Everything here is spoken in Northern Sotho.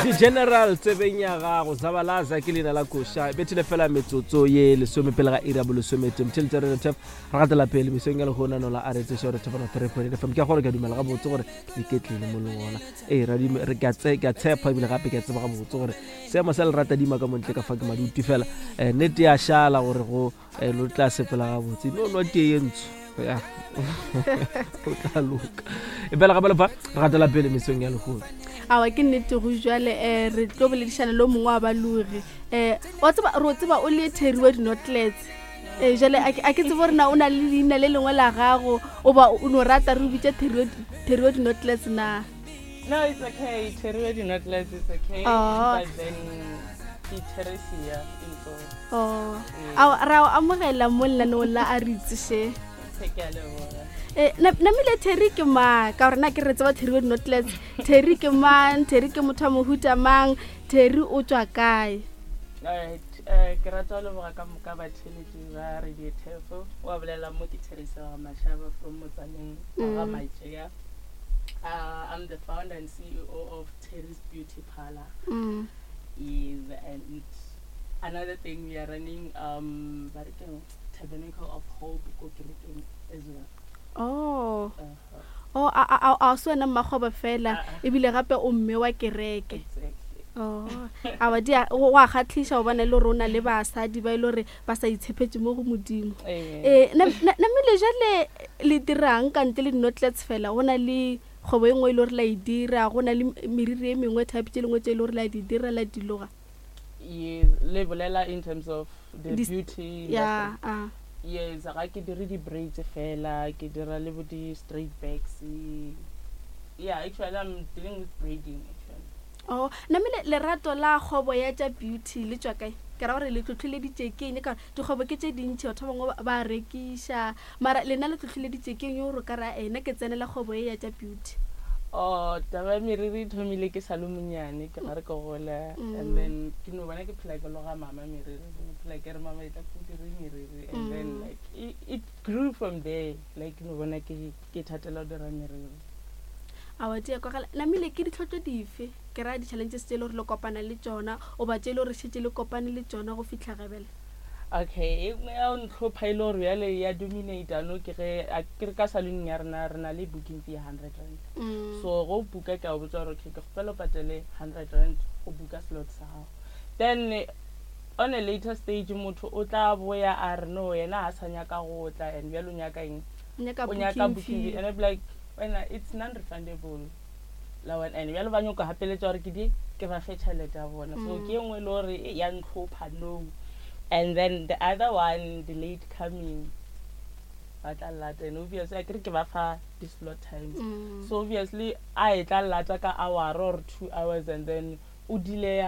The General tsebeng ya gago Zabalaza ke leina la koša bethile fela metsotso ye lesome pele ga iri ya bolesomete motšheletše re tef re gatela pele mesong ya lehono no la a re tseša gore thefana 3.8 FM ke a gore ke a dumela gabotse gore le ketlele mo leng gona ee re ke a tshepa ebile gape ke a tseba gabotse gore seemo sa lerata dima ka montle ka fa ke maduti fela um nnete ya šala gore go um lo tla sepela gabotse no nwa tee ye ntsho ya o tla loka e fela gape lefa re gatela pele mesong ya lehono. Awa, ke nnete go jale um re tlo boledišana le o mongwe wa balogi um wa tseba re o tseba o le Terry wa dinotlets um jale a ke tsebe gore na o na le leina le lengwe la gago o ba o no rata re o bitša Terry wa dinotlets na? No, it's okay. Terry wa dinotlets is okay. Oh. But then ke Teresia in so. Oh. Awa, ra o amogela mo lenaneong la a re itse. Ke a leboga. Namile Terry ke mang? Ka gore na ke re tseba Terry wa dinotlets. Terry ke mang? Terry ke motho wa mohuta mang? Terry o tswa kae? Alright, ke rata go leboga ka moka batheeletši ba Radio Tefo. Wa bolela mo ke Teresa wa Mashaba from Motsaneng wa ga Matšea. I'm the founder and CEO of Terry's Beauty Parlor. Is and another thing we are running ba re keng, Tabernacle of Hope ko kerekeng as well. Oh. Oh, a se wena mmakgoba fela ebile gape o mme wa kereke. Exactly. Oh, awa di go a kgatlhiša go bona e le gore o na le basadi ba e le gore ba sa itshepetse mo go Modimo. Amen. Namile jale le dirang ka ntle le dinotlets fela? Go na le kgwebo e nngwe e le gore la e dira, go na le meriri e mengwe type tše dingwe tše e le gore la di dira la di loga? Yes, le bolela in terms of the beauty industry. Yes, ga ke dire di-braids fela, ke dira le bo di-straight backs. Yeah, actually I'm dealing with braiding actually. Oh, namile lerato la kgwebo ya tša beauty le tšwa kae? Ke ra gore le tlhotlheleditše ke eng? Ka gore dikgwebo ke tše dintši, batho ba bangwe ba rekiša, mara lena le tlhotlheleditše ke eng gore o ka ra ena ke tsenela kgwebo e ya tša beauty? Oh, taba ya meriri e thomile ke sa le monyane, ke gare ke gola and then ke no bona ke phela ke loga mama meriri, ke no phela ke re mama e tla ke dire meriri and then like it grew from there, like ke no bona ke thatela go dira meriri. Awa, di a kwagala. Namile ke ditlhotlo dife, ke ra di-challenges tše e le gore le kopana le tšona goba tše e le gore šetše le kopane le tšona go fihla gebele? Okay, e nngwe ya go ntlhopha e le gore bjale ya dominate no ke ge a ke re ka saloneng ya rena re na le booking fee ya R100. So go booka ke a o botsa gore okay, ke kgopela o patele R100 go booka slot sa gago. Then on a later stage motho o tla boya a re no, yena ga sa nyaka go tla and bjale o nyaka eng? O nyaka o nyaka booking booking fee fee. And I be like, wena, it's non refundable la wena and bjale ba nyoko gapeletša gore ke di ke ba fe tšhelete ya bona. So ke e nngwe e le gore e ya ntlhopha no. And then the other one, the late coming, ba tla lata and obviously a kere ke ba fa di-slot times. So obviously a e tla lata ka hour or 2 hours and then o delay.